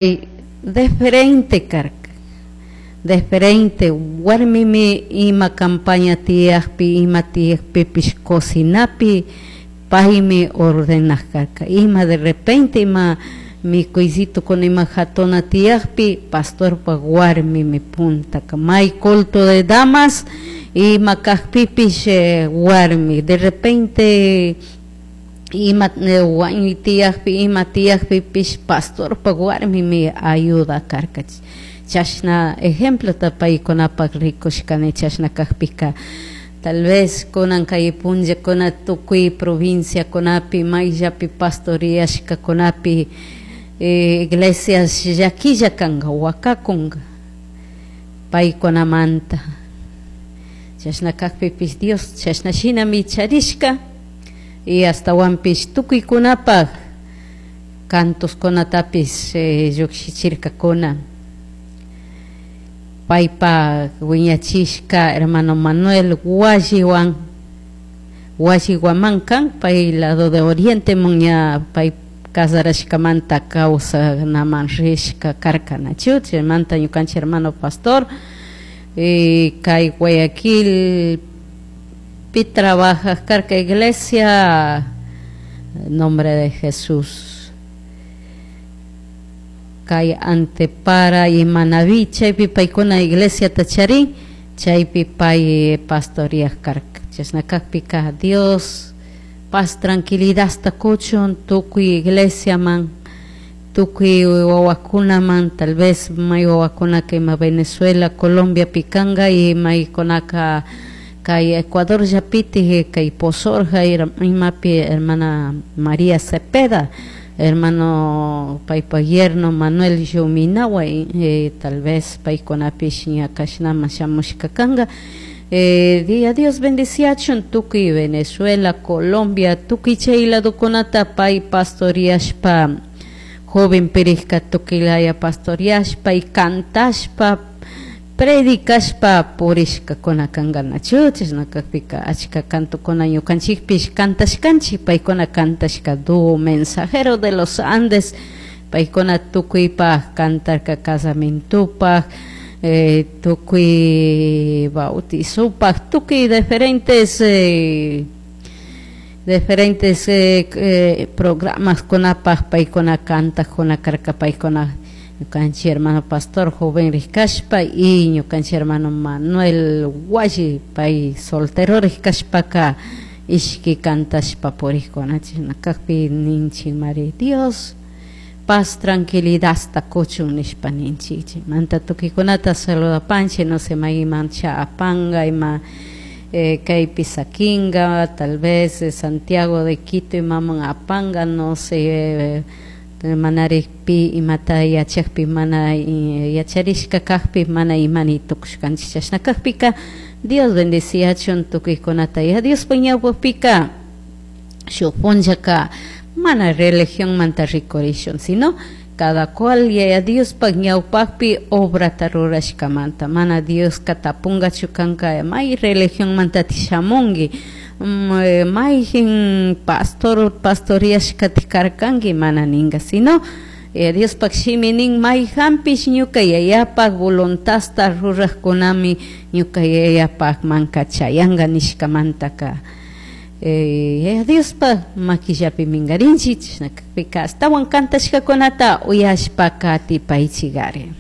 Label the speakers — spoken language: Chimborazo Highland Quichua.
Speaker 1: Diferente karka, diferente warmimi ima campaña tiyakpi, ima tiyakpipish cocinapi paymi ordenak karka, ima de repente ima mikuysitukuna ima jatuna tiyakpi pastorpak warmimi puntaka may culto de damas ima kakpipish warmi de repente ima wañuy tiyakpi ima tiyakpipish pastorpak warmimi ayuda karka. Chashna ejemplota paykunapak rikushkani chashna kakpika tal vez kunan kay punllakuna tukuy provinciakunapi mayllapi pastoriashkakunapi iglesias llakilla kanka wakakunka paykunamanta chashna kakpipish Dios chashna shinami charishka y astawanpish tukuykunapak cantoskunatapis llukshichirkakuna paypak wiñachishka hermano Manuel Walliwan Walliwaman kan pay lado de oriente ña pay casarashkamanta kawsanaman rishka karka nachu chaymanta ñukanchik hermano pastor kay Guayaquil pi trabaja karka iglesia nombre de Jesús kay Antepara y Manabí chaypi paykuna iglesiata charin chaypi pay pastoriak karka chashna kakpika Dios paz tranquilidadta kuchun tukuy iglesiaman tukuy wawakunaman tal vez may wawakunaka ima Venezuela Colombiapi kanka y maykunaka kay Ecuador llapiti kay Pozorja imapi hermana María Cepeda hermano paypak yerno Manuel Yuminawa tal vez paykunapish ña kashnaman shamushka kanka. Día Dios bendiciachun tukuy Venezuela, Colombia, tukuy chay ladokunata pay pastoriashpa joven pirishka tukuylaya pastoriashpa y cantashpa predicashpa purishkakuna kanka nachu chashna kakpika achka cantokuna ñukanchikpish cantashkanchik paykuna cantashka dúo mensajero de los Andes paykuna tukuypak cantarka casamientopak tukuy bautizopak tukuy diferentes diferentes programas kunapak paykuna kantakuna karka paykuna ñukanchik hermano pastor joven rikashpa y ñukanchik hermano Manuel Walli pay soltero rikashpaka ishki kantashpa purikuna chashna kakpi ninchik mari Dios paz tranquilidadta kuchun nishpa ninchik chaymanta tukuykunata saludapanchik no sé mayman cha apanka ima kaypi sakinka tal vez Santiago de Quito imaman apanka no sé manarik pi imata yachakpi mana yacharishka kakpi mana imani tukushkanchik chashna kakpika Dios bendiciachun tukuykunata ya Diospa ñawpapika shuk punllaka mana religionmanta rikurishun sino cada cual yaya Diospak ñawpakpi obrata rurashkamanta mana Dioska tapunkachu kanka may religionmanta shamunki mayjin pastor pastoriashkata karkanki mana ninka sino Diospak shimi nin mayjanpish ñuka yayapak voluntadta rurajkunami ñuka yayapakmanka chayanka nishkamantaka Diospak makillapi minkarinchik chashna kakpika ashtawan kantashkakunata uyashpa katipaychikari.